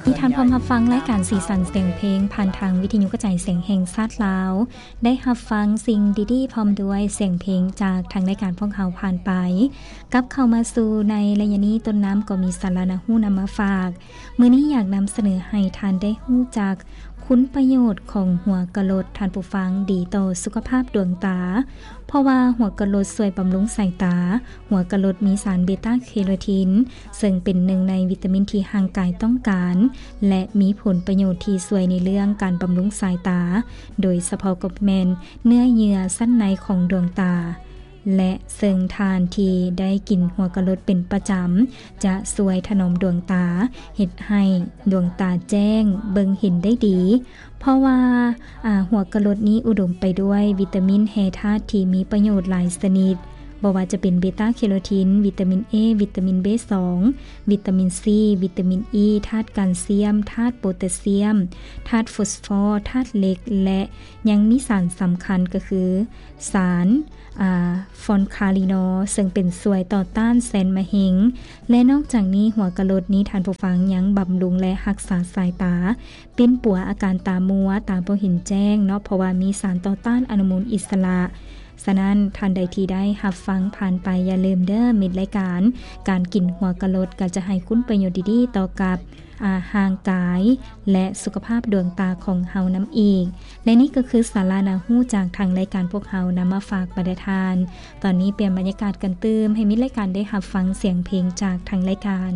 ນີ້ທ່ານພ້ອມຮັບຟັງລາຍການສີສັນສຽງເພງ ຜ່ານທາງວິທະຍຸກະຈາຍສຽງແຫ່ງຊາດລາວ. ໄດ້ຮັບຟັງສິ່ງດີໆ ພ້ອມດ້ວຍສຽງເພງຈາກທາງລາຍການພວກເຮົາຜ່ານໄປ. ກັບເຂົ້າມາສູ່ໃນໄລຍະນີ້, ຕົ້ນນ້ຳກໍມີສາລະໜ້າຮູ້ນຳມາຝາກ. ມື້ນີ້ຢາກນຳສະເໜີໃຫ້ທ່ານໄດ້ຮູ້ຈັກຄຸນປະໂຫຍດຂອງຫົວກະໂຫຼດ, ທ່ານຜູ້ຟັງ, ດີຕໍ່ສຸຂະພາບດວງຕາ. ເພາະວ່າຫົວກະໂຫຼດຊ່ວຍບຳລຸງສາຍຕາ. ຫົວກະໂຫຼດມີສານເບຕາແຄໂຣທີນ ເຊິ່ງເປັນໜຶ່ງໃນວິຕາມິນທີ່ຮ່າງກາຍຕ້ອງການ ແລະ ມີຜົນປະໂຫຍດທີ່ຊ່ວຍໃນເລື່ອງການບຳລຸງສາຍຕາ, ໂດຍສະເພາະກໍແມ່ນເນື້ອເຍື່ອຊັ້ນໃນຂອງດວງຕາ ແລະ ເຊິ່ງທ່ານທີ່ໄດ້ກິນຫົວກະໂຫຼດເປັນປະຈຳ ຈະຊ່ວຍຖະໜອມດວງຕາ, ເຮັດໃຫ້ດວງຕາແຈ້ງ, ເບິ່ງເຫັນໄດ້ດີ. ເພາະວ່າ ອາ ຫົວກະໂຫຼດນີ້ອຸດົມໄປດ້ວຍວິຕາມິນແຮ່ທາດທີ່ມີປະໂຫຍດຫຼາຍຊະນິດ, ບໍ່ວ່າຈະເປັນເບຕາແຄໂຣທີນ, ວິຕາມິນເອ, ວິຕາມິນເບສອງ, ວິຕາມິນຊີ, ວິຕາມິນອີ, ທາດການຊຽມ, ທາດໂປແທສຊຽມ, ທາດຟອສຟໍ, ທາດເຫຼັກ ແລະ ຍັງມີສານສຳຄັນກໍຄືສານ ອາ ຟອນຄາລີນອລ ເຊິ່ງເປັນຊ່ວຍຕໍ່ຕ້ານແຊນມະເຮັງ. ແລະ ນອກຈາກນີ້ ຫົວກະໂຫຼດນີ້ ທ່ານຜູ້ຟັງ, ຍັງບຳລຸງ ແລະ ຮັກສາສາຍຕາ, ປິ່ນປົວອາການຕາມົວ, ຕາບໍ່ເຫັນແຈ້ງເນາະ, ເພາະວ່າມີສານຕໍ່ຕ້ານອະນຸມູນອິດສະຫຼະ. ສະນັ້ນ, ທ່ານໃດທີ່ໄດ້ຮັບຟັງຜ່ານໄປ, ຢ່າລືມເດີ້ ມິດລາຍການ, ການກິນຫົວກະໂຫຼດກໍຈະໃຫ້ຄຸນປະໂຫຍດດີໆຕໍ່ກັບ ອາ ຮ່າງກາຍ ແລະ ສຸຂະພາບດວງຕາຂອງເຮົານຳອີກ. ແລະ ນີ້ກໍຄືສາລະໜ້າຮູ້ຈາກທາງລາຍການພວກເຮົານຳມາຝາກບັນດາທ່ານ. ຕອນນີ້ປ່ຽນບັນຍາກາດກັນຕື່ມ, ໃຫ້ມິດລາຍການໄດ້ຮັບຟັງສຽງເພງຈາກທາງລາຍການ.